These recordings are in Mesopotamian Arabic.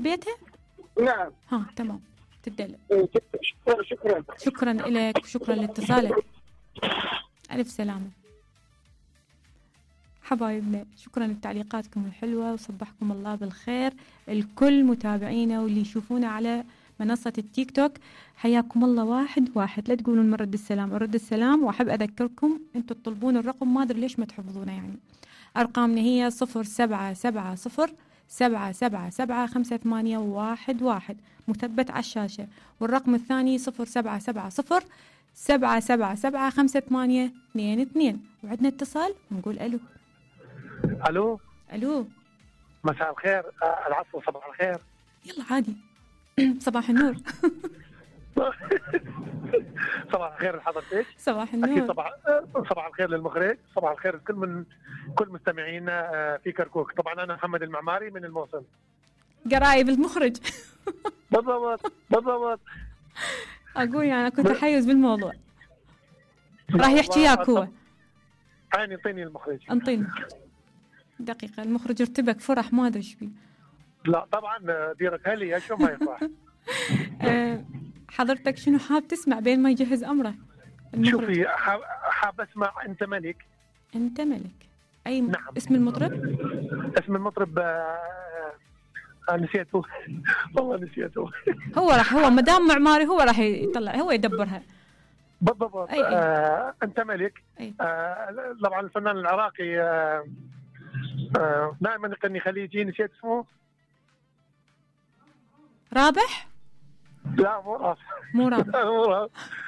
حبيتها؟ نعم. ها تمام تدلل. شكرا لك وشكرا لاتصالك. ألف سلامة حبايبنا، شكرا لتعليقاتكم الحلوة وصبحكم الله بالخير الكل متابعينا واللي يشوفونا على منصة التيك توك. حياكم الله واحد واحد، لا تقولون من رد السلام، رد السلام. وأحب أذكركم أنتوا تطلبون الرقم ما أدري ليش ما تحفظونه، يعني أرقامنا هي 0770-777-5811 مثبت على الشاشة، والرقم الثاني 0770-777-5822. وعندنا اتصال نقول ألو. الو ألو مساء الخير. العفو، صباح الخير. يلا عادي. صباح النور. صباح الخير لحضرتك. صباح النور. اكيد صباح الخير للمخرج، صباح الخير كل مستمعينا في كركوك. طبعا انا محمد المعماري من الموصل. قرايب المخرج. بالضبط. اقول يعني اكو تحيز بالموضوع. راح يحكي وياك هو. انطيني المخرج. انطيني دقيقة. المخرج ارتبك فرح ما ادري ايش بيه. لا طبعا ديرك هلي شو ما يفرح. حضرتك شنو حاب تسمع بين ما يجهز امره المخرج؟ شوفي، حاب اسمع انت ملك. انت ملك. اي نعم. اسم المطرب؟ اسم المطرب نسيته. والله نسيته. هو مدام معماري هو راح يطلع، هو يدبرها. بالضبط. انت ملك. طبعا الفنان العراقي دائما يغني خليجي، نسيت اسمه. رابح؟ لا مو رابح.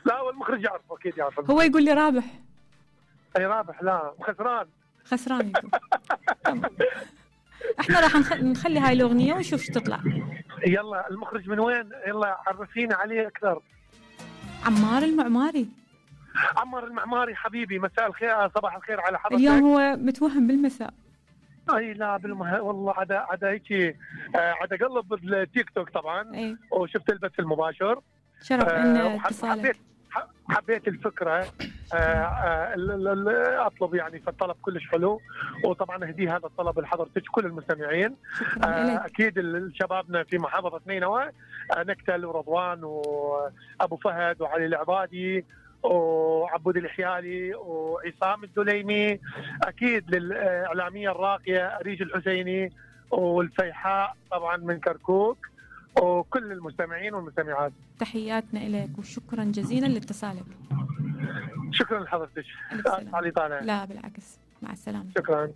لا هو المخرج يعرفه، اكيد يعرفه. هو يقول لي رابح. اي رابح؟ لا خسران يقول. احنا راح نخلي هاي الاغنيه ونشوف شو تطلع. يلا المخرج من وين؟ يلا عرفينا عليه اكثر. عمار المعماري حبيبي، مساء الخير، صباح الخير على حضرتك. اليوم هو متوهم بالمساء. اي لا والله عدا هيك عدا قلب بالتيك توك طبعا. وشفت البث المباشر. شرف ان اتصالك. حبيت الفكره. اطلب يعني، فالطلب كلش حلو، وطبعا اهدي هذا الطلب لحضرتك كل المستمعين. اكيد شبابنا في محافظه نينوى، نكتل ورضوان وابو فهد وعلي العبادي وعبود الحيالي وعصام الدليمي، اكيد للاعلاميه الراقيه اريج الحسيني والفيحاء طبعا من كركوك، وكل المستمعين والمستمعات. تحياتنا لك وشكرا جزيلا لاتصالك. شكرا لحضرتك. لا بالعكس، مع السلامه. شكرا.